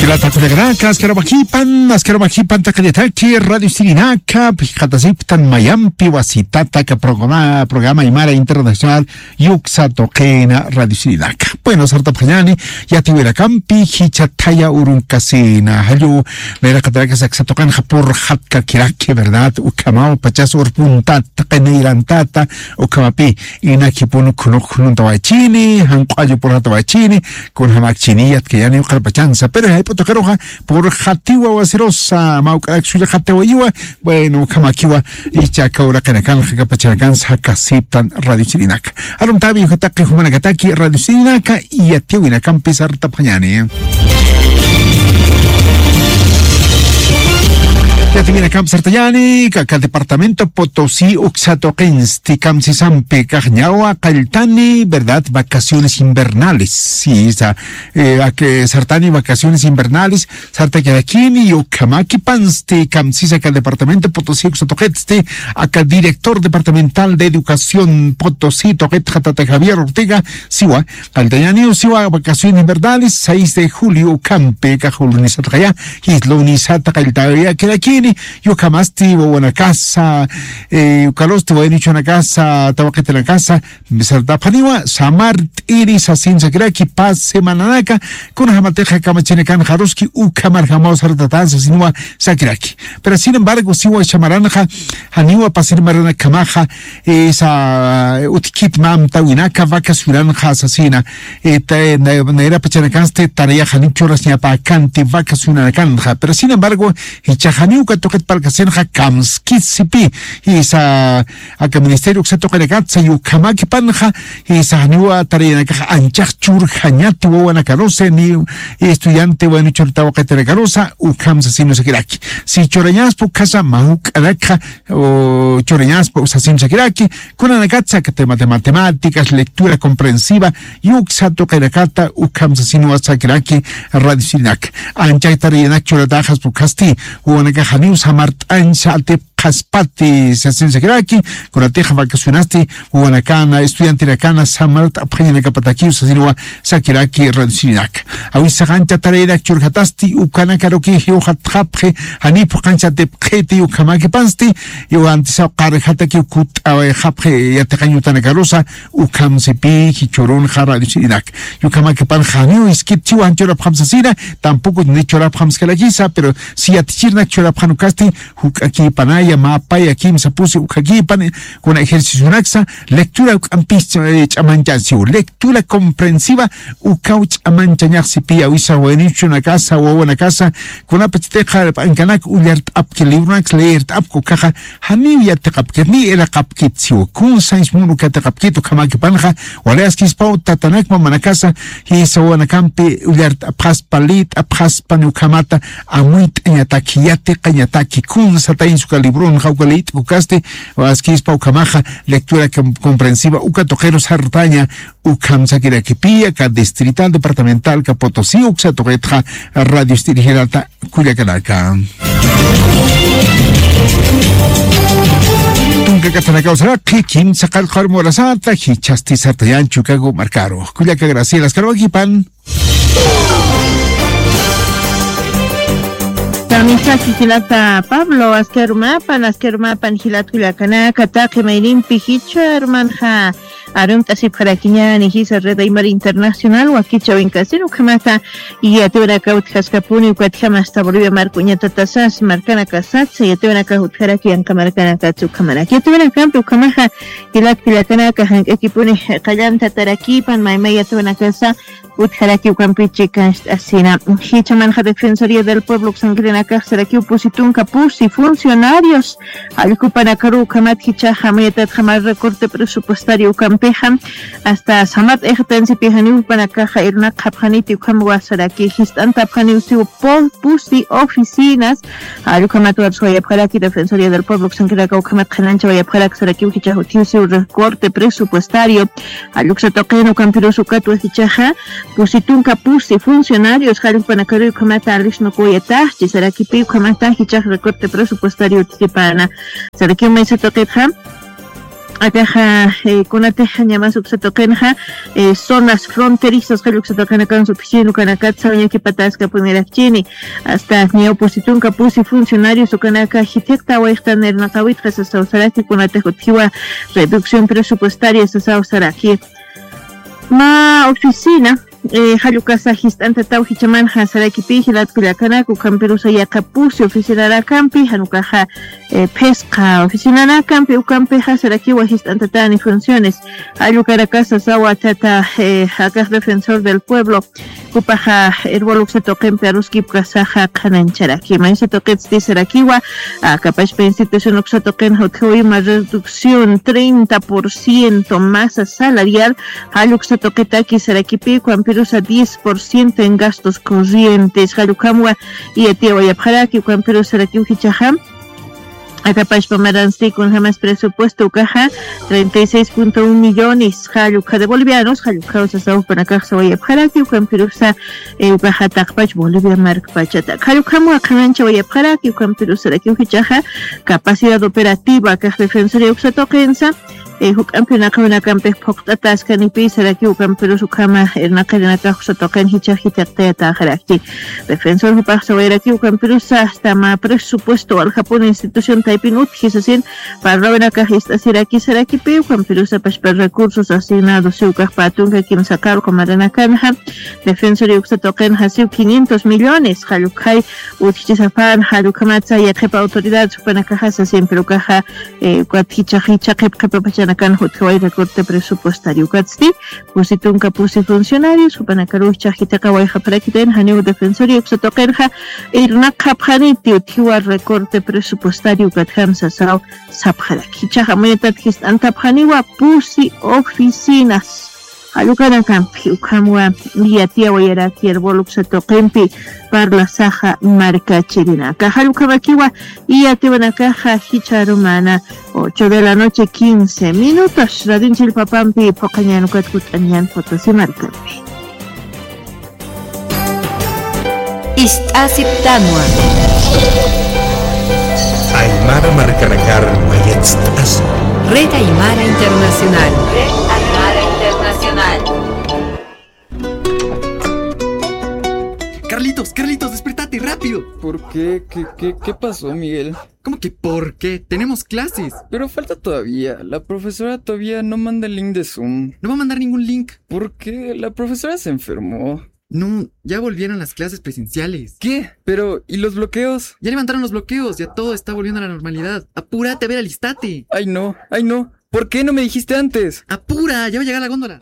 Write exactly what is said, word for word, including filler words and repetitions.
Latha kullakanaka, askharumakipan, askharumakipan taqinitaki, Radio Sirinaka, phisqatasiptan mayampi wasitata, aka programa, programa Aymara Internacional, yuksa tuqina Radio Sirinaka. Bueno, sartapxañani, yatiwirakampi, jichha thaya urunkasina, jallu, nayraqatarakas aksa tuqinxa purxatkakiraki, ¿verdad? Ukhamaw, pachas urpuntat, qinayrantata, ukhamapi, inakipun khunuk khununta wachini, janq'allu purxata wachini, kunjamakchini, yatkayani uqarpachansa. Pero jayp'u tuqiruxa, purxatiwa wasirusa, mawk'arak sullxatiwayiwa, bueno, ukhamakiwa, ichaka uraqinakanxa, kapachanakansa, jakasiptan Radio Sirinaka. Arumtawi, jutaqi jumanakataki, Radio Sirinaka, yatiwinakampi sartapxañani. Yatiwinakampi sartañani, aka departamento Potosí uksa tuqinsti kamsisampi kaxñawa qalltani, ¿verdad? Vacaciones invernales. Sí, esa, eh, a que sartani vacaciones invernales, sartakirakini, ukhamakipansti kamsisa aka departamento Potosí uksa tuqitsti, aka director departamental de educación Potosí tuqitxa tata Javier Ortega, siwa, qalltañaniw siwa vacaciones invernales, seis de julio ukhampi, kax lunisatxaya, jis lunisata qalltayakirakini, ukhamasti wawanakasa, eh, ukarusti waynuchunakasa, tawaqitanakasa, sartapxaniwa, samart'iri sasin sakiraki, pas semananaka, kunjamatixa kamachinakanxaruski, ukhamarjamaw sartatan sasinwa sakiraki. Pero sin embargo, siwa samaranxa, janiwa pasir maranakamaxa, esa, utjkit mä amtawinaka vacacionanxa sasina, eh, ta-, na-, nayrapachanakansti tarayaxa janiw churasñapäkanti vacacionanakanxa. Pero sin embargo, jichhax janiw uka tuqit parlkasinxa kamskit sipi, esa, aka ministerio uksa tuqinakatsa, ukhamakipanxa, esa, janiwa tarayanakax anchax churjañati wawanakarusa, ni estudiante waynuchun tawaqitanakarusa, ukham sasin sakiraki. Si churañaspa ukhasa, mawk'anakxa, o, churañaspa sasin sakiraki, kunanakatsa aka tema de matemáticas, lectura comprensiva, uksa tuqinakata, ukham sasinwa sakiraki, Radio Sirinaka. Anchak tarayanak churataxaspa ukhasti, wawanakax janiw samart'añsa atipxaspati sasin sakiraki, kunatix vacacionasti, wawanakana, estudiantenakana, samart'apxañanakapatakiw sasinwa sakiraki Radio Sirinaka. Awisax ancha tarayanak churjatasti, ukanakaruki jiwxatxapxi, janiw phuqancha atipxiti, ukhamakipansti, iwantisaw qarjatakiw kut'awayxapxi, yatiqañ utanakarusa, ukham sipi, jichhürunxa Radio Sirinaka. Ukhamakipanxa janiw iskit chiwan churapxam sasina, tampoco ni churapxam sakirakisa, pero si yatichirnak churapxan ukhasti, juk'akipanaya, mapaya, kimsa pusi ukhakipan, kuna ejercicionaksa, lectura uk'ampis, eh, ch'amanchansiw. Lectura comprensiva, ukaw ch'amanchañax sipi, awisa waynuchunakasa, wawanakasa, kunapachatixa p'ankanak ullart'apki, libronak leert'apki ukaxa, janiw yatiqapkit, ni iraqapkit siw. Kun sañs mun uka yatiqapkit, ukhamakipanxa, wali askispaw tatanak mamanakasa, jisa wawanakampi ullart'apxaspa, lït'apxaspa, ni ukhamata, amuyt'añataki, yatiqañataki, kun satañs uka libronxa, uka lït'k ukasti, askispa ukhamaxa, lectura com-, comprensiva, uka tuqiru sartaña, ukham sakirakipi, aka distrital departamental, aka Potosí, uksa tuqitxa, radio dirigirata, kullakanaka. Tunka katanakaw saraki, kimsa qallqar murasata, jichhasti sartañan Chicago markaru. Kullaka Graciela, askharumakipan. Tamichaki jilata Pablo, askharumapan, askharumapan jilat kullakanaka, taqi mayninpi jichharumanxa arumt'asipxarakiñäni jisa Red Aymara Internacional wakichäwinkasir ukhamata yatiyuranakaw utjaskapuni, ukatjama hasta Bolivia marka uñatata sas markanakasatsa, yatiyuranakax utjaraki yanqa markanakatsa ukhamaraki. Yatiyuranakampi ukhamaxa jilat kullakanaka, jank'akipuni qallanta tarakipan, maymay yatiyuranakasa utjaraki ukampi chikancht'asina. Jichhamanxa Defensoría del Pueblo uksankirinakax sarakiw pusi tunka pusi funcionarios allqupanakaru ukhamat jichhaxa mayatatxa mä recorte presupuestario ukampixa hasta samat ixtansipi janiw jupanakaxa irnaqxapxaniti ukham wasaraki, jist'antapxaniw siw pu-, pusi oficinas, allqukamat warswayapxaraki Defensoría del Pueblo uksankirinaka ukhamat qhanañchawayapxaraki sarakiw jichhax utjiw siw recorte presupuestario, allquksa tuqin ukampirus ukatwa jichhaxa pusi tunka pusi funcionarios jallpanakaruy ukhamata alisnukuyataxchi, sarakipi ukhamata jichhax recorte presupuestario utjipana. Sarakiw maysa tuqitxa Akaxa, eh, kunatixa ñamas uksa tuqinxa, eh, zonas fronterizas, jall uksa tuqinakan sutjin ukanakat sawañakipataska punirakchini. Hasta ñaw pusitunka pusi funcionarios ukanaka jithiqta wayxtan irnaqawitxa sasaw saraki, kunatix utjiwa reducción presupuestaria sasaw saraki. Mä oficina, eh, jall ukasa jist'antataw jichhamanxa sarakipï jilat kullakanak, ukhampirusa yaqha pusi oficinarakampi, jan ukaxa, eh, phisqa oficinarakampi, ukampixa sarakiwa jist'antatäni funciones. Jall ukarakasa sawa tata, eh, akax Defensor del Pueblo, jupaxa Erbol uksa tuqimpi aruskipkasaxa qhanañcharaki. Maysa tuqitsti sarakiwa, aka pachpa institución uksa tuqinxa utjiwa ima reducción treinta por ciento masa salarial, jall uksa tuqitaki sarakipï, ukhampirusa diez por ciento en gastos corrientes, jall ukhamwa iyatiyawayapxaraki, ukhampirusa sarakiw jichhaxa. Aka pachpa maransti kunjamas presupuesto ukaxa treinta y seis punto un millones, jall ukha de bolivianos, jall ukhaw sasaw jupanakax sawayapxaraki, ukhampirusa, eh, ukaxa taqpach Bolivia markpachata. Jall ukhamwa qhanañchawayapxaraki, ukhampirusa sarakiw jichhaxa capacidad operativa akax Defensoría uksa tuqinsa, eh, juk'ampi irnaqawinakampix phuqt'ataskanipi sarakiw, ukhampirus ukhama irnaqirinakax uksa tuqin jichhax jithiqtayatäxaraki. Defensor jupax sawayaraki, ukhampirusa hasta mä presupuesto waljapun institución taypin utji sasin, parlawinakax ist'asiraki sarakipï, ukhampirusa pachpa recursos asignados siw ukax pä tunka kimsa qarqu maranakanxa, Defensoría uksa tuqinxa siw quinientos millones, jall ukhay utjichisapan, jall ukhamatsa yaqhipa autoridades jupanakaxa sasin, pero ukaxa, eh, ukat jichha, jichha qhip qhipa pachanakan utjiway recorte presupuestario. Ukatsti pusi tunka pusi funcionarios jupanakaruw jichhax jithiqawayxapxarakitayna, janiw Defensoría uksa tuqinxa irnaqxapxaniti utjiwa recorte presupuestario ukatjam sasaw sapxaraki. Jichhax amuyatat jist'antapxaniwa pusi oficinas jall ukanakampi, ukhamwa iyatiyawayaraki Erbol uksa tuqimpi parlasaxa markachirinaka. Jall ukhamakiwa iyatiwanakaxa jichha arumana, ocho de la noche, quince minutos. Radin chillpapampi phuqañän ukat jut'añän Potosí markampi. Ist'asiptanwa. Aymara markanakar mayatst'asi. Red Aymara Internacional. Red Aymara Internacional. Carlitos, Carlitos, despertate, rápido. ¿Por qué? ¿Qué, qué, qué pasó, Miguel? ¿Cómo que por qué? Tenemos clases. Pero falta todavía. La profesora todavía no manda el link de Zoom. No va a mandar ningún link. ¿Por qué? La profesora se enfermó. No, ya volvieron las clases presenciales. ¿Qué? Pero, ¿y los bloqueos? Ya levantaron los bloqueos, ya todo está volviendo a la normalidad. Apúrate, a ver, alistate. Ay, no, ay, no. ¿Por qué no me dijiste antes? Apura, ya va a llegar la góndola.